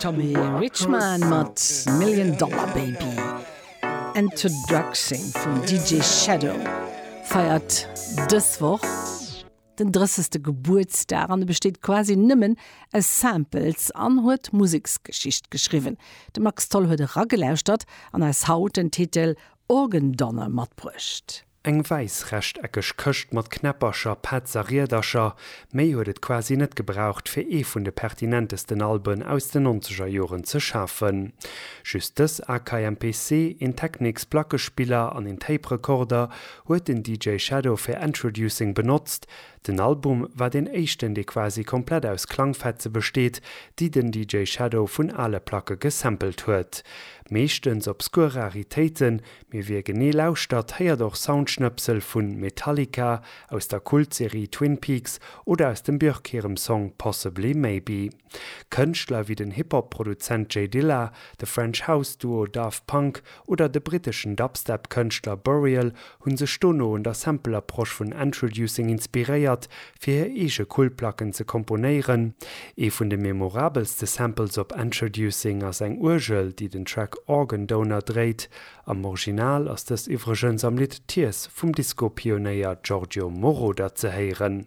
Tommy Richman mat Million Dollar Baby. Introducing vum DJ Shadow feiert dës Woch den drëssegste Gebuertsdag an e besteet quasi nëmmen aus Samples an huet Museksgeschicht geschriwwen. De Max Tholl huet eragelauschtert an eis haut den Titel Organ Donor matbruecht. Eng wäiss rechteckeg Këscht mat Knäppercher, Pads a Riedercher, méi huet et quasi net gebraucht, fir ee vun de pertinentesten Alben aus den nonzeger Joren ze schafen. Just dës Akai MPC, een Technics Plackespiller an een Tape Recorder huet den DJ Shadow fir Endtroducing benotzt. Den Album war deen éischten, dee quasi komplett aus Klangfetze besteet, déi den DJ Shadow vun ale Placke gesampelt huet. Meeschtens obskur Raritéiten, Mee wie genee lauschtert, héiert och Soundschnëpsel vun Metallica, aus der Kultserie Twin Peaks oder aus dem Björk hirem Song Possibly Maybe. Kënschtler wéi den Hip-Hop-Produzent J Dilla, de French House Duo Daft Punk oder de britteschen Dubstep-Kënschtler Burial hu sech dono un der Sample-Approche vun Endtroducing inspiréiert, fir hir eege Kultplacken ze komponéieren. Ee vun de memorabelste Samples op Endtroducing ass eng Uergel, déi den Track Organ Donor dréit. Am Original ass dës iwwregens am Lidd Tears vum Disco-Pionéier Giorgio Moroder ze héieren.